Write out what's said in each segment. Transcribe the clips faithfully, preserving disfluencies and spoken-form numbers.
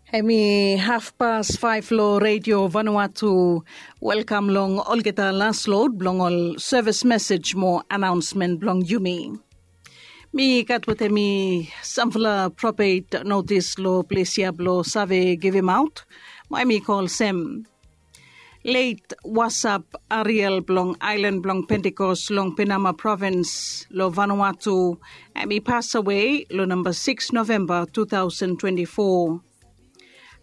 Em i hafpas faef long Redio Vanuatu. Welkam long olgeta las lod blong ol sevis mesej mo anaonsmen blong yumi. Mi gat wetem mi samfala propet notis long ples ya blong save givimaot. Mo em i kol sem Leit Wasap Ariel blong aelan blong Pentikos long Penama provins long Vanuatu, em i pasawe long namba siks Novemba tu taosen twenti fo.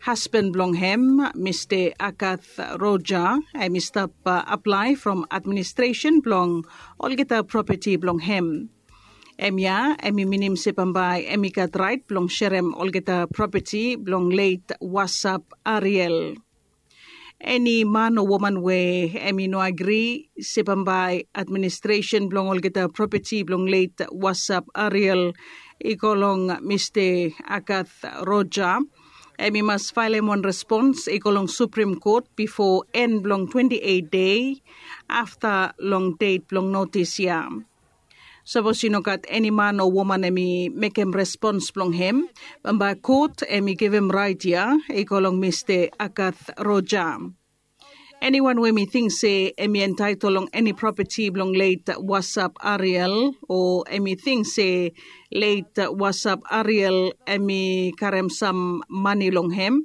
Hasban blong hem, Mista Agath Roja, em i stap aplae from administresen blong olgeta propeti blong hem. Em ya em i minim se bambae em i gat raet blong serem olgeta propeti blong leit Wasap Ariel. Eni man o woman we em i no agri se bambae administresen blong olgeta propeti blong leit Wasap Ariel i go long Mista Agath Roja, em i mas faelem wan respons i go long Suprim Kot bifo en blong twenti eit dei afta long det blong notis ya. Sapos i no gat eni man o woman em i mekem respons blong hem, bambae kot em i givim raet ya i go long Mista Agath Roja. Eniwan we mi ting se em i entaetol long eni propeti blong leit Wasap Ariel, o em i ting se leit Wasap Ariel em i karem sam mane long hem,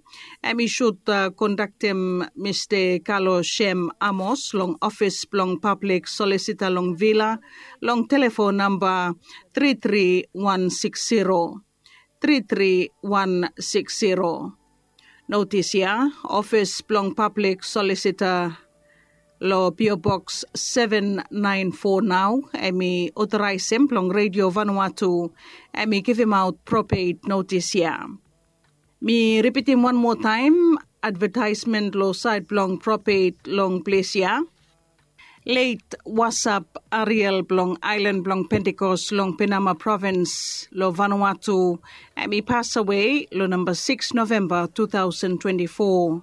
em i sud kondaktem Mista Kalo Sem Amos long ofis blong pablik solisita long Vila long telefon namba tri tri wan siks zero, tri tri wan siks zero. Notis ya, ofis blong pablik solisita long P O Boks seven nine four nao em i otoraesem blong Redio Vanuatu em i givimaot propet notis ya. Mi ripitim wan moa taem advetaesmen long saed blong propet long ples ya. Leit Wasap Ariel blong aelan blong Pentikos long Penama provins long Vanuatu em i pasawe long namba siks Novemba tu taosen twenti fo.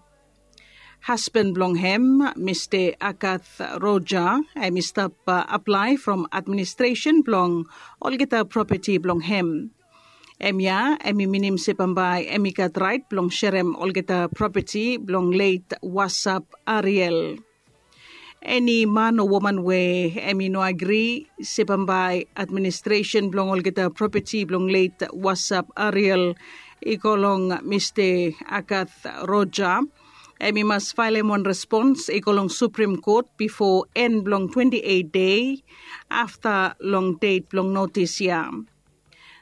Hasban blong hem, Mista Agath Roja, em i stap aplae from administresen blong olgeta propeti blong hem. Em ya em i minim se bambae em i gat raet blong serem olgeta propeti blong leit Wasap Ariel. Eni man o woman we em i no agri se bambae administresen blong olgeta propeti blong leit Wasap Ariel i go long Mista Agath Roja, em i mas faelem wan respons i go long Suprim Kot bifo en blong twenti eit dei afta long det blong notis ya.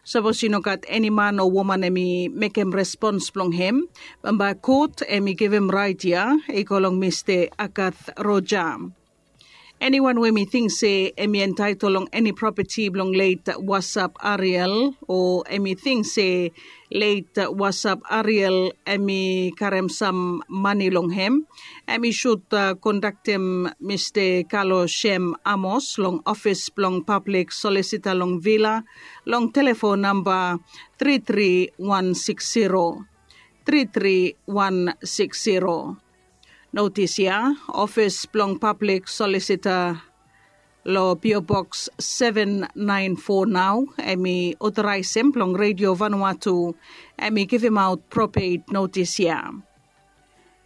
Sapos i no gat eni man o woman em i mekem respons blong hem, bambae kot em i givim raet ya i go long Mista Agath Roja. Eniwan we mi ting se em i entaetol long eni propeti blong leit Wasap Ariel, o em i ting se leit Wasap Ariel em i karem sam mane long hem, em i sud kondaktem Mista Kalo Sem Amos long ofis blong pablik solisita long Vila long telefon namba tri tri wan siks zero, tri tri wan siks zero. Notis ya, ofis blong pablik solisita long P O Boks seven nine four nao em i otoraesem blong Redio Vanuatu em i givimaot propet notis ya.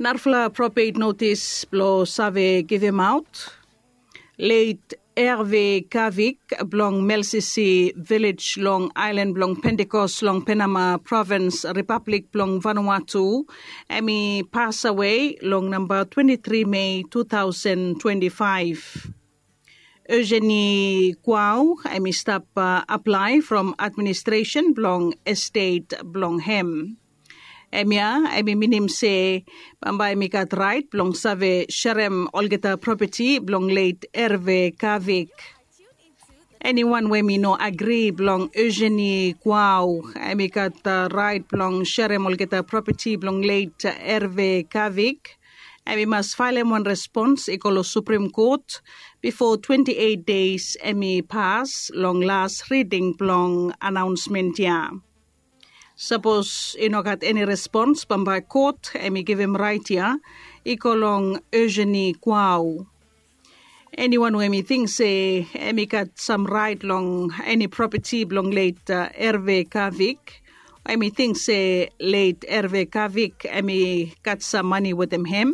Narafala propet notis blong save givimaot. Leit Erve Kavik blong Melsisi vilej long aelan blong Pentikos long Penama provins, Ripablik blong Vanuatu, em i pasawe long namba twenti tri Mei tu taosen twenti faef. Eugenie Kuau em i stap aplae from administresen blong estet blong hem. Em ya em i minim se bambae em i gat raet blong save serem olgeta propeti blong leit Erve Kavik. Eniwan we em i no agri blong Eugenie Kuau em i gat raet blong serem olgeta propeti blong leit Erve Kavik. Em i mas faelem wan respons i go long Suprim Kot bifo twenti eit dei em i pas long las riding blong anaonsmen ya. Sapos i no gat eni respons, bambae kot em i givim raet ya i go long Eugenie Kuau. Eniwan we em i ting se em i gat sam raet long eni propeti blong leit Erve Kavik, Em i ting se leit Erve Kavik em i gat sam mani wetem hem.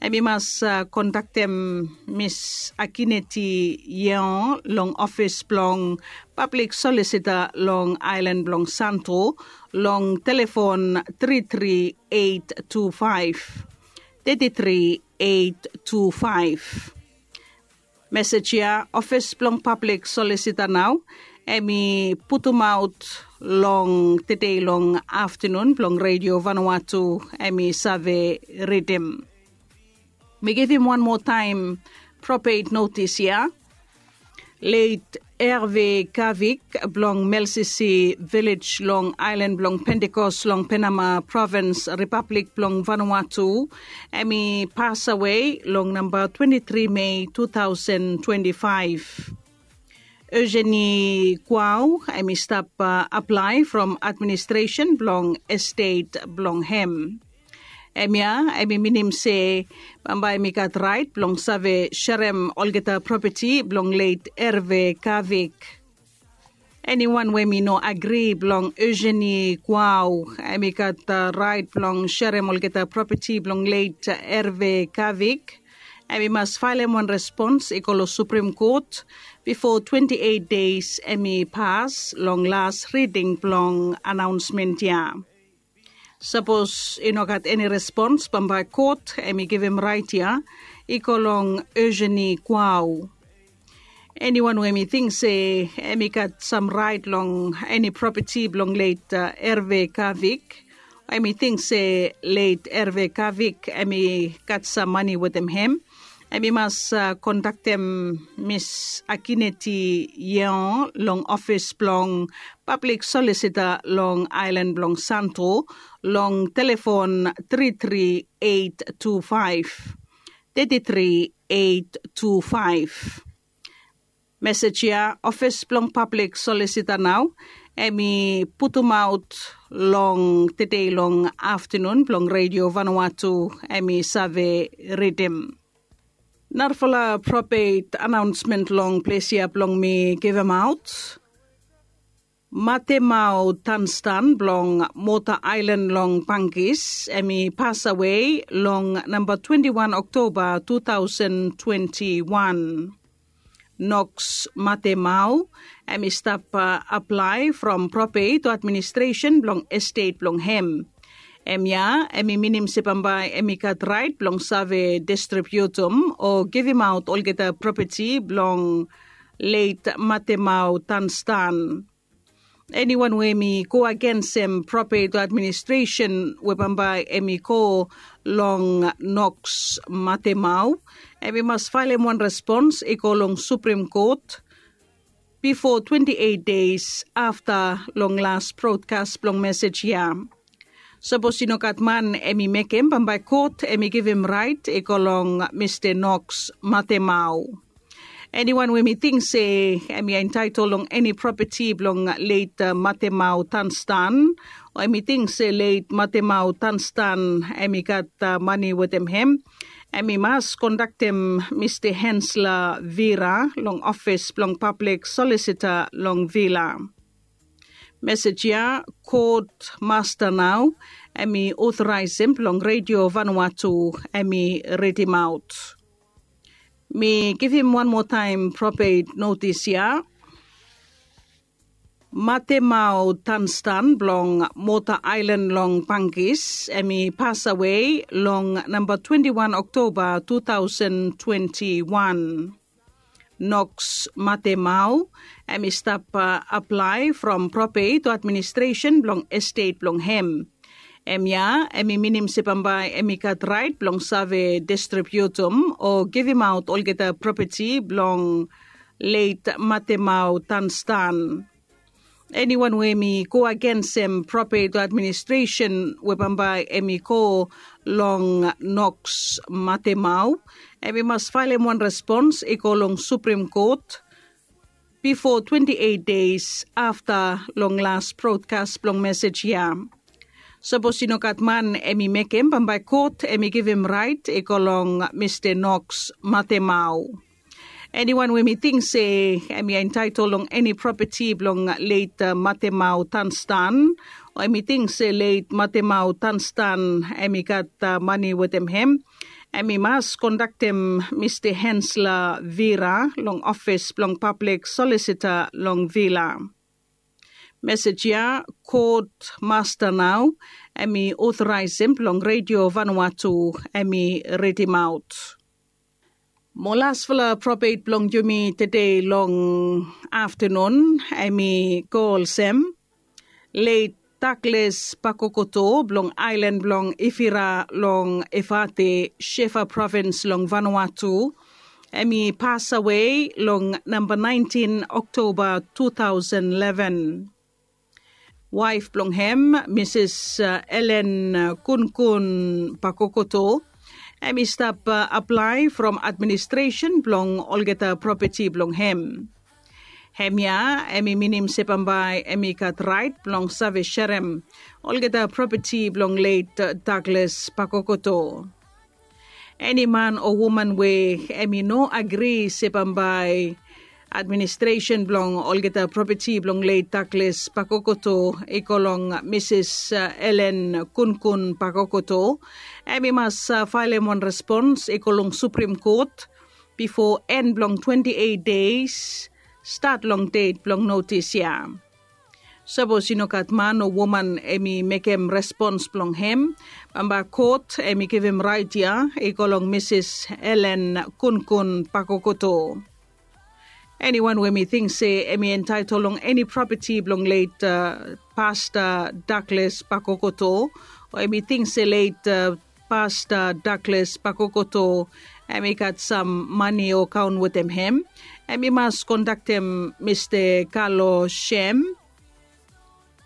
Em i mas kondaktem Mis Akineti Yeon long ofis blong pablik solisita long aelan blong Santo long telefon tri tri eit tu faef tri tri eit tu faef. Mesej ya ofis blong pablik solisita nao em i putumaot long tede long aftanun blong Redio Vanuatu em i save ridim. Mi givim wan moa taem propet notis ya. Leit Erve Kavik blong Melsisi Vilej long aelan blong Pentekos long Penama provins, Ripablik blong Vanuatu, em i pasawe long namba twenti tri Mei tu taosen twenti faef. Eugenie Kuau em i stap aplae from administresen blong estet blong hem. Hemia em i minim se bambae mi gat raet blong save serem olgeta propeti blong leit Erve Kavik. Eniwan we mi no agri blong Eugenie Kuau em i gat raet blong serem olgeta propeti blong leit Erve Kavik. Em i mas faelem wan respons i go long Suprim Kot bifo twenti eit deis em i pas long las riding blong anaonsmen ya. Sapos i no gat eni respons bambae kot em i givim raet ya i go long Eugenie Kuau. Eniwan we em i ting se em i gat sam raet long eni propeti blong leit Erve Kavik, em i ting se leit Erve Kavik em i gat sam mani wetem hem, em i mas kondaktem Mis Akineti Yeon long ofis blong pablik solisita long aelan blong Santo long telefon tri tri eit tu faef tri tri eit tu faef. Mesej ya ofis blong pablik solisita nao em i putumaot long tede long aftanun blong Redio Vanuatu em i save ridim. Narafala propet anaonsmen long ples ya blong mi givim aot. Matemau Tanstan blong Mota Aelan long Bangkis em i pasawe long namba twenti wan Oktoba tu taosen twenti wan. Noks Matemau em i stap aplae from propet o administresen blong estet blong hem. Hemia em i minim se bambae em i gat raet blong save distribiutum o givimaot olgeta propeti blong leit Matemau Tanstan. Eniwan we mi go agensem propet o administresen we bambae em i go long Noks Matemau, em i mas faelem wan respons i go long Suprim Kot bifo twenti eit deis afta long las brodkas blong mesej ya. Sapos i no gat man em i mekem, bambae kot em i givim raet i go long Mista Noks Matemau. Eniwan we mi ting se em i entaetol long eni propeti blong leit Matemau Tanstan, o em i ting se leit Matemau Tanstan em i gat mani wetem hem, em i mas kondaktem Mista Hensla Vira long ofis blong pablik solisita long Vila. Mesej ya kot masta nao em i otoraesem blong Redio Vanuatu em i ridimaot. Mi givim wan moa taem propet notis ya. Matemau Tanstan blong Mota Aelan long Bangkis em i pasawe long namba twenti wan Oktoba tu taosen twenti wan. Noks Matemau em i stap aplae from propet o administresen blong estet blong hem. Hemia em i minim se bambae em i gat raet blong save distribiutum o givimaot olgeta propeti blong leit Matemau Tanstan. Eniwan we mi go agensem propet o administresen we bambae em i go long Noks Matemau, em i mas faelem wan respons i go long Suprim Kot bifo twenti eit deis afta long las brodkas blong mesej ya. Sapos i no gat man em i mekem, bambae kot em i givim raet i go long Mista Noks Matemau. Eniwan we mi ting se em i entaetol long eni propeti blong leit Matemau Tanstan, Em i ting se leit matemau tanstan em i gat mani wetem hem, em i mas kondaktem mista hensla vira long ofis blong pablik solisita long vila. Mesej ya kot masta nau em i otoraisem blong redio vanua tu em i ridimaot. Mo lasfala probet blong yumi tede long aftanun em i go olsem, leit Douglas Pakokoto blong ailan blong Ifira long Efate, Shefa provins long Vanuatu, em i pasawe long namba naentin Oktoba tu taosen leven. Waef blong hem, Misis Elen Kunkun Pakokoto, em i stap aplae from administresen blong olgeta propeti blong hem. Hemia em i minim se bambae em i gat raet blong save serem olgeta propeti blong leit Douglas Pakokoto. Eni man o woman we em i no agri se bambae administresen blong olgeta propeti blong leit Douglas Pakokoto i go long Misis Elen Kunkun Pakokoto, em i mas faelem wan respons i go long Suprim Kot bifo en blong twenti eit deis stat long det blong notis ya. Sapos i no gat man o woman em i mekem respons blong hem, bambae kot em i givim raet ya i go long Misis Elen Kunkun Pakokoto. Eniwan we em i ting se em i entaetol long eni propeti blong leit Pasta Douglas Pakokoto, o em i ting se leit Pasta Douglas Pakokoto em i gat sam mani o kaon wetem hem, em i mas kondaktem Mista Kalo Shem,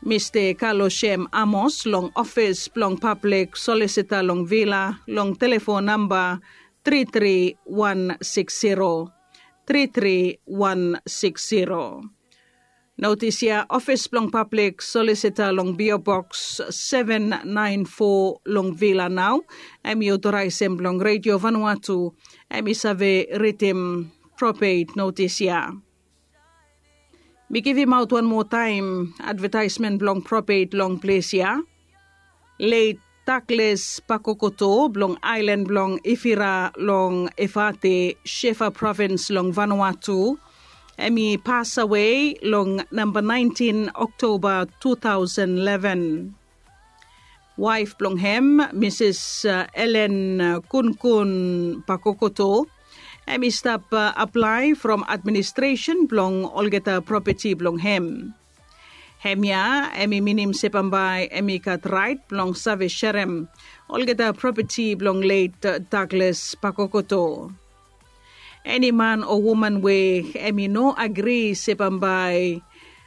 Mista Kalo Shem Amos long ofis blong pablik solisita long Vila long telefon namba tri tri wan sikis zero, tri tri wan sikis zero. Notis ya, ofis blong pablik solisita long P O Boks seven nine four long Vila nao em i otoraesem blong Redio Vanuatu em i save ridim probet notis ya. Mi givimaot wan moa taem advetaesmen blong probet long ples ya. Leit Douglas Pakokoto blong aelan blong Ifira long Efate, Shefa provins long Vanuatu, em i pasawe long namba naentin Oktoba tu taosen leven. Waef blong hem, Misis Elen Kunkun Pakokoto, em i stap aplae from administresen blong olgeta propeti blong hem. Hemia em i minim se bambae em i gat raet blong save serem olgeta propeti blong leit Douglas Pakokoto. Eni man o woman we em i no agri se bambae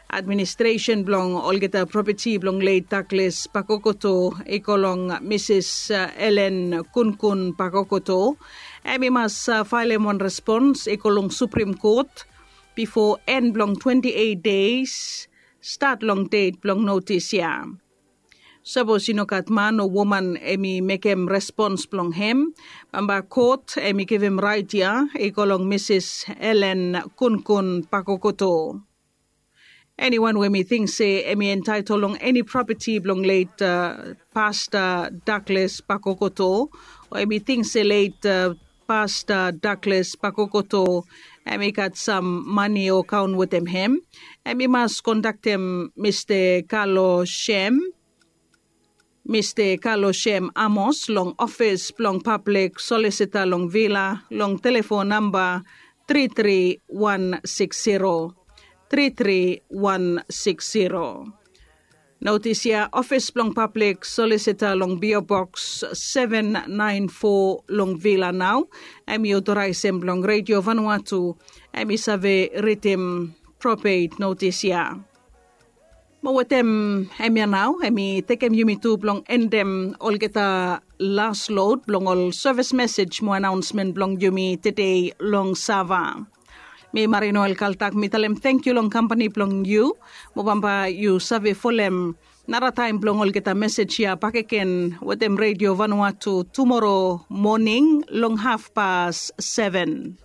administresen blong olgeta propeti blong leit Douglas Pakokoto i go long Misis Elen Kunkun Pakokoto, em i mas faelem wan respons i go long Suprim Kot bifo en blong twenti eit deis stat long det blong notis ya. Sapos i no gat man o woman em i mekem respons blong hem, bambae kot em i givim raet ya i go long Misis Elen Kunkun Pakokoto. Eniwan we em i ting se em i entaetol long eni propeti blong leit Pasta Douglas Pakokoto, o em i ting se leit Pasta Douglas Pakokoto em i gat sam mani o kaon wetem hem, em i mas kondaktem Mista Kalo Shem, Mista Kalo Shem Amos long ofis blong pablik solisita long Vila long telefon namba tri tri wan sikis zero, tri tri wan sikis zero. Notis ya, ofis blong pablik solisita long P O Boks seven nine four long Vila nao em i otoraesem blong Redio Vanuatu em i save ridim probet notis ya. Mo wetem hemia nao em i tekem yumi tu blong endem olgeta las lod blong ol sevis mesej mo anaonsmen blong yumi tede long Sava. Mi Marinoel Kaltak mi talem tangkiu long kampani blong yu. Mo bambae yu save folem narataem blong olgeta mesej ya bakegen wetem Redio Vanuatu tumoro moning long hafpas seven.